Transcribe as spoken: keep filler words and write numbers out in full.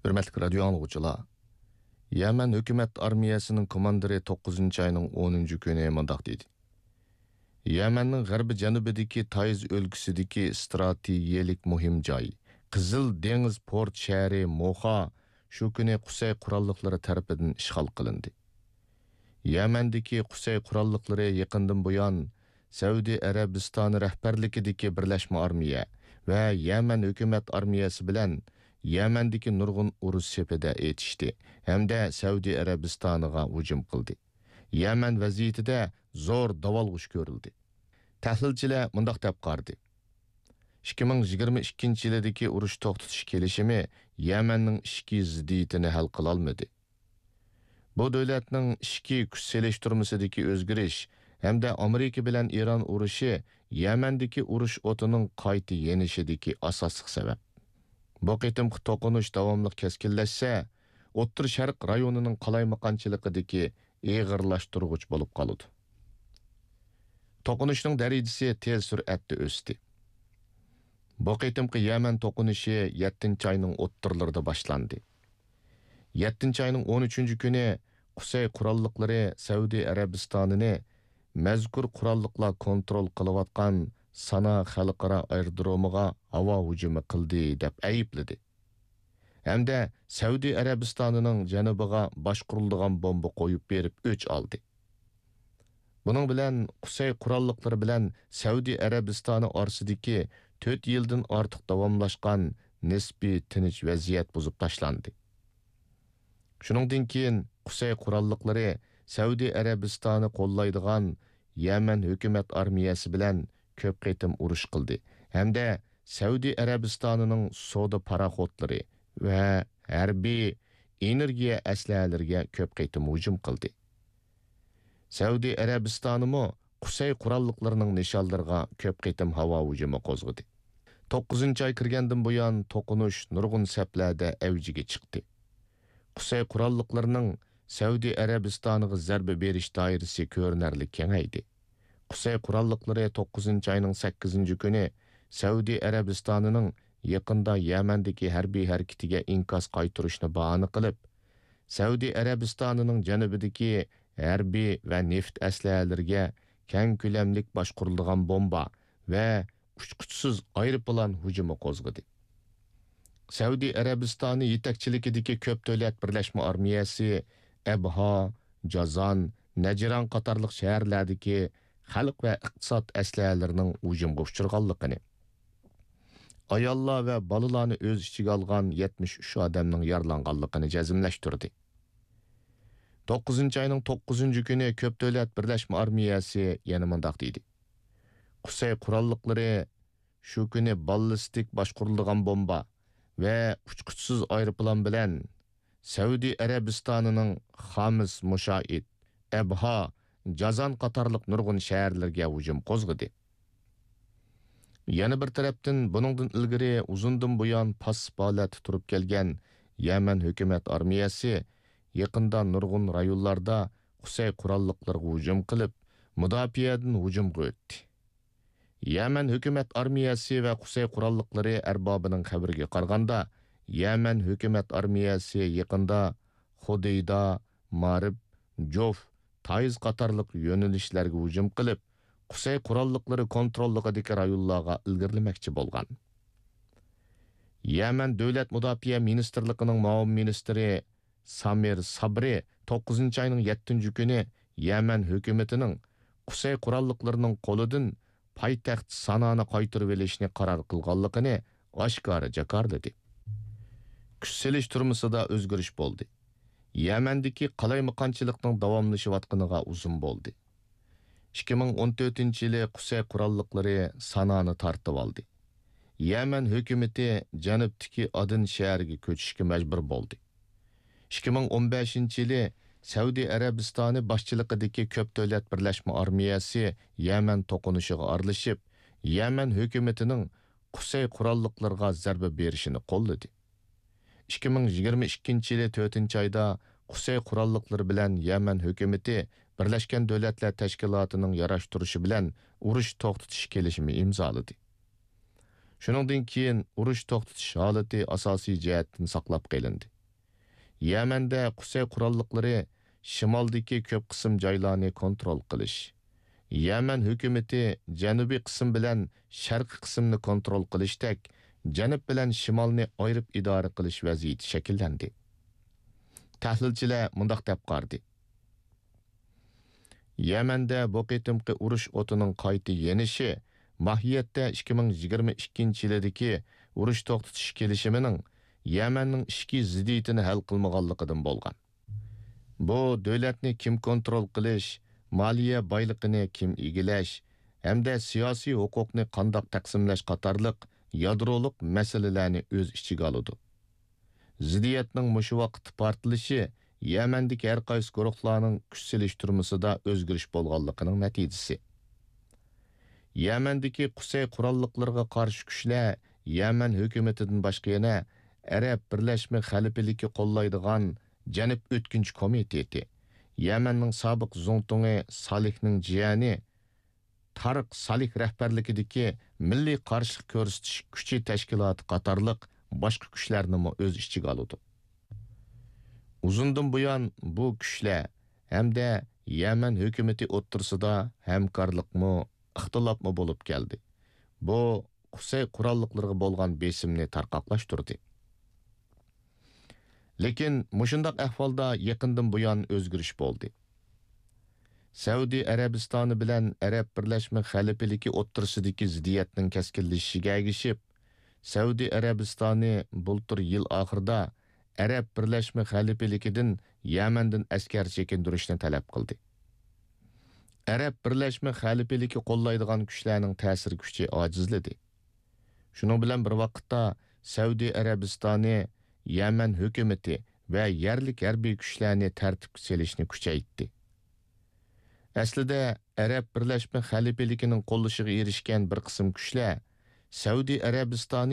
ھۆرمەتلىك رادىيو ئاڭلىغۇچىلار، يەمەن ھۆكۈمەت ئارمىيەسىنىڭ كوماندىرى توققۇزىنچى ئاينىڭ ئونىنچى كۈنى مۇنداق دېدى: يەمەننىڭ غەربىي جەنۇبىدىكى تايز ئۆلكىسىدىكى ئىستراتېگىيەلىك مۇھىم جاي، قىزىل دېڭىز پورت شەھىرى موخا شۇ كۈنى قۇسەي قوراللىقلىرى تەرىپىدىن ئىشغال قىلىندى. يەمەندىكى قۇسەي قوراللىقلىرى يېقىندىن بۇيان سەئۇدى ئەرەبىستانى رەھبەرلىكىدىكى بىرلەشمە ئارمىيە ۋە يەمەن ھۆكۈمەت ئارمىيەسى بىلەن يەمەندىكى نۇرغۇن ئۇرۇش سېپىدە ئېتىشتى ھەمدە سەئۇدى ئەرەبىستانىغا ھۇجۇم قىلدى. يەمەن ۋەزىيىتىدە زور داۋالغۇش كۆرۈلدى. تەھلىلچىلەر مۇنداق دەپ قارىدى: ئىككى مىڭ يىگىرمە ئىككىنچى يىلىدىكى ئۇرۇش توختىتىش كېلىشىمى يەمەننىڭ ئىچكى زىددىيىتىنى ھەل قىلالمىدى. بۇ دۆلەتنىڭ ئىچكى كۈچ سېلىشتۇرمىسىدىكى ئۆزگىرىش ھەمدە ئامېرىكا بىلەن ئىران ئۇرۇشى يەمەندىكى ئۇرۇش ئوتىنىڭ قايتا يېنىشىدىكى ئاساسلىق سەۋەب. بۇ قېتىمقى توقۇنۇش داۋاملىق كەسكىنلەشسە، ئوتتۇرا شەرق رايونىنىڭ قالايمىقانچىلىقىدىكى ئېغىرلاشتۇرغۇچ بولۇپ قالىدۇ. توقۇنۇشنىڭ دەرىجىسى تېز سۈرئەتتە ئۆستى. بۇ قېتىمقى يەمەن توقۇنۇشى يەتتىنچى ئاينىڭ ئوتتۇرىلىرىدا باشلاندى. يەتتىنچى ئاينىڭ ئون ئۈچىنچى كۈنى قۇسەي قوراللىقلىرى سەئۇدى ئەرەبىستانىنى مەزكۇر قوراللىقلار كونترول قىلىۋاتقان سانا خەلقئارا ئايرودرومىغا ھاۋا ھۇجۇمى قىلدى، دەپ ئەيىبلىدى ھەمدە سەئۇدى ئەرەبىستانىنىڭ جەنۇبىغا باشقۇرۇلىدىغان بومبا قويۇپ بېرىپ ئۆچ ئالدى. بۇنىڭ بىلەن قۇسەي قوراللىقلىرى بىلەن سەئۇدى ئەرەبىستانى ئارىسىدىكى تۆت يىلدىن ئارتۇق داۋاملاشقان نىسپىي تىنچ ۋەزىيەت بۇزۇپ تاشلاندى. شۇنىڭدىن كېيىن قۇسەي قوراللىقلىرى سەئۇدى ئەرەبىستانى قوللايدىغان يەمەن ھۆكۈمەت ئارمىيەسى بىلەن كۆپ قېتىم ئۇرۇش قىلدى ھەمدە سەئۇدى ئەرەبىستانىنىڭ سودا پاراخوتلىرى ۋە ھەربىي ئېنېرگىيە ئەسلىھەلىرىگە كۆپ قېتىم ھۇجۇم قىلدى. سەئۇدى ئەرەبىستانىمۇ قۇسەي قوراللىقلىرىنىڭ نىشانلىرىغا كۆپ قېتىم ھاۋا ھۇجۇمى قوزغىدى. توققۇزىنچى ئاي كىرگەندىن بۇيان توقۇنۇش نۇرغۇن سەپلەردە ئەۋجىگە چىقتى. قۇسەي قوراللىقلىرىنىڭ سەئۇدى ئەرەبىستانىغا زەربە بېرىش دائىرىسى كۆرۈنەرلىك كېڭەيدى. قۇسەي قوراللىقلىرى توققۇزىنچى ئاينىڭ سەككىزىنچى كۈنى سەئۇدى ئەرەبىستانىنىڭ يېقىندا يەمەندىكى ھەربىي ھەرىكىتىگە ئىنكاس قايتۇرۇشنى باھانە قىلىپ، سەئۇدى ئەرەبىستانىنىڭ جەنۇبىدىكى ھەربىي ۋە نېفىت ئەسلىھەلىرىگە كەڭ كۆلەملىك باشقۇرۇلىدىغان بومبا ۋە ئۇچقۇچىسىز ئايروپىلان ھۇجۇمى قوزغىدى. سەئۇدى ئەرەبىستانى يېتەكچىلىكىدىكى كۆپ دۆلەت بىرلەشمە ئارمىيەسى ئەبھا، جازان، نەجران قاتارلىق شەھەرلەردىكى خەلق ۋە ئىقتىساد ئەسلىھەلىرىنىڭ ھۇجۇمغا ئۇچرىغانلىقىنى، ئاياللار ۋە بالىلارنى ئۆز ئىچىگە ئالغان يەتمىش ئۈچ ئادەمنىڭ يارىلانغانلىقىنى جەزملەشتۈردى. توققۇزىنچى ئاينىڭ توققۇزىنچى كۈنى كۆپ دۆلەت بىرلەشمە ئارمىيەسى يەنە مۇنداق دېدى: قۇسەي قوراللىقلىرى شۇ كۈنى باللىستىك باشقۇرۇلىدىغان بومبا ۋە ئۇچقۇچىسىز ئايروپىلان بىلەن سەئۇدى ئەرەبىستانىنىڭ خامىس مۇشائىد، ئەبھا، جازان قاتارلىق نۇرغۇن شەھەرلەرگە ھۇجۇم قوزغىدى. يەنە بىر تەرەپتىن، بۇنىڭدىن ئىلگىرى ئۇزۇندىن بۇيان پاسسىپ ھالەتتە تۇرۇپ كەلگەن يەمەن ھۆكۈمەت ئارمىيەسى يېقىندا نۇرغۇن رايونلاردا قۇسەي قوراللىقلىرىغا ھۇجۇم قىلىپ، مۇداپىئەدىن ھۇجۇمغا ئۆتتى. يەمەن ھۆكۈمەت ئارمىيەسى ۋە قۇسەي قوراللىقلىرى ئەربابىنىڭ خەۋىرىگە قارىغاندا، يەمەن ھۆكۈمەت ئارمىيەسى يېقىندا خۇدەيدا، مارىب، جوف، تايىز قاتارلىق يۆنىلىشلەرگە ھۇجۇم قىلىپ، قۇسەي قوراللىقلىرى كونتروللۇقىدىكى رايونلارغا ئىلگىرىلىمەكچى بولغان. يەمەن دۆلەت مۇداپىئە مىنىستىرلىقىنىڭ مۇئاۋىن مىنىستىرى سامىر سابرى توققۇزىنچى ئاينىڭ يەتتىنچى كۈنى يەمەن ھۆكۈمىتىنىڭ قۇسەي قوراللىقلىرىنىڭ قولىدىن پايتەخت سانانى قايتۇرۇۋېلىشنى قارار قىلغانلىقىنى ئاشكارا جاكارلىدى. كۈچ سېلىشتۇرمىسىدا ئۆزگىرىش بولدى. يەمەندىكى قالايمىقانچىلىقنىڭ داۋاملىشىۋاتقىنىغا ئۇزۇن بولدى. ئىككى مىڭ ئون تۆتىنچى يىلى قۇسەي قوراللىقلىرى سانانى تارتىۋالدى. يەمەن ھۆكۈمىتى جەنۇبتىكى ئادېن شەھىرىگە كۆچۈشكە مەجبۇر بولدى. ئىككى مىڭ ئون بەشىنچى يىلى سەئۇدى ئەرەبىستانى باشچىلىقىدىكى كۆپ دۆلەت بىرلەشمە ئارمىيەسى يەمەن توقۇنۇشىغا ئارىلىشىپ، يەمەن ھۆكۈمىتىنىڭ قۇسەي قوراللىقلىرىغا زەربە بېرىشىنى قوللىدى. ئىككى مىڭ يىگىرمە ئىككىنچى يىلى تۆتىنچى ئايدا قۇسەي قوراللىقلىرى بىلەن يەمەن ھۆكۈمىتى بىرلەشكەن دۆلەتلەر تەشكىلاتىنىڭ ياراشتۇرۇشى بىلەن ئۇرۇش توختىتىش كېلىشىمى ئىمزالىدى. شۇنىڭدىن كېيىن ئۇرۇش توختىتىش ھالىتى ئاساسىي جەھەتتىن ساقلاپ قېلىندى. يەمەندە قۇسەي قوراللىقلىرى شىمالدىكى كۆپ قىسىم جايلارنى كونترول قىلىش، يەمەن ھۆكۈمىتى جەنۇبىي قىسىم بىلەن شەرقىي قىسىمنى كونترول قىلىشتەك، جەنۇب بىلەن شىمالنى ئايرىپ ئىدارە قىلىش ۋەزىيىتى شەكىللەندى. تەھلىلچىلەر مۇنداق دەپ قارىدى: يەمەندە بۇ قېتىمقى ئۇرۇش ئوتىنىڭ قايتا يېنىشى ماھىيەتتە ئىككى مىڭ يىگىرمە ئىككىنچى يىلىدىكى ئۇرۇش توختىتىش كېلىشىمىنىڭ يەمەننىڭ ئىچكى زىددىيىتىنى ھەل قىلمىغانلىقىدىن بولغان. بۇ دۆلەتنى كىم كونترول قىلىش، مالىيە بايلىقىنى كىم ئىگىلەش ھەمدە سىياسىي ھوقۇقنى قانداق تەقسىملەش قاتارلىق يادرولۇق مەسىلىلەرنى ئۆز ئىچىگە ئالىدۇ. زىددىيەتنىڭ مۇشۇ ۋاقىتتا پارتلىشى يەمەندىكى ھەر قايسى گۇرۇھلارنىڭ كۈچ سېلىشتۇرمىسىدا ئۆزگىرىش بولغانلىقىنىڭ نەتىجىسى. يەمەندىكى قۇسەي قوراللىقلىرىغا قارشى كۈچلەر يەمەن ھۆكۈمىتىدىن باشقا يەنە ئەرەب بىرلەشمە خەلىپىلىكى قوللايدىغان جەنۇب ئۆتكۈنچى كومىتېتى، يەمەننىڭ سابىق زۇڭتۇڭى سالىھنىڭ جىيەنى تارىق سالىھ رەھبەرلىكىدىكى مىللىي قارشىلىق كۆرسىتىش كۈچى تەشكىلاتى قاتارلىق باشقا كۈچلەرنىمۇ ئۆز ئىچىگە ئالىدۇ. ئۇزۇندىن بۇيان بۇ كۈچلەر ھەمدە يەمەن ھۆكۈمىتى ئوتتۇرىسىدا ھەمكارلىقمۇ، ئىختىلاپمۇ بولۇپ كەلدى. بۇ قۇسەي قوراللىقلىرىغا بولغان بېسىمنى تارقاقلاشتۇردى. لېكىن مۇشۇنداق ئەھۋالدا يېقىندىن بۇيان ئۆزگىرىش بولدى. سەئۇدى ئەرەبىستانى بىلەن ئەرەب بىرلەشمە خەلىپىلىكى ئوتتۇرىسىدىكى زىددىيەتنىڭ كەسكىنلىشىشىگە ئەگىشىپ، سەئۇدى ئەرەبىستانى بۇلتۇر يىل ئاخىرىدا ئەرەب بىرلەشمە خەلىپىلىكىدىن يەمەندىن ئەسكەر چېكىندۈرۈشنى تەلەپ قىلدى. ئەرەب بىرلەشمە خەلىپىلىكى قوللايدىغان كۈچلەرنىڭ تەسىر كۈچى ئاجىزلىدى. شۇنىڭ بىلەن بىر ۋاقىتتا، سەئۇدى ئەرەبىستانى يەمەن ھۆكۈمىتى ۋە يەرلىك ھەربىي كۈچلەرنى تەرتىپكە سېلىشنى كۈچەيتتى. ئەسلىدە، ئەرەب بىرلەشمە خەلىپىلىكىنىڭ قوللىشىغا ئېرىشكەن بىر قىسىم كۈچلەر سەئۇدى ئەرەبىستانى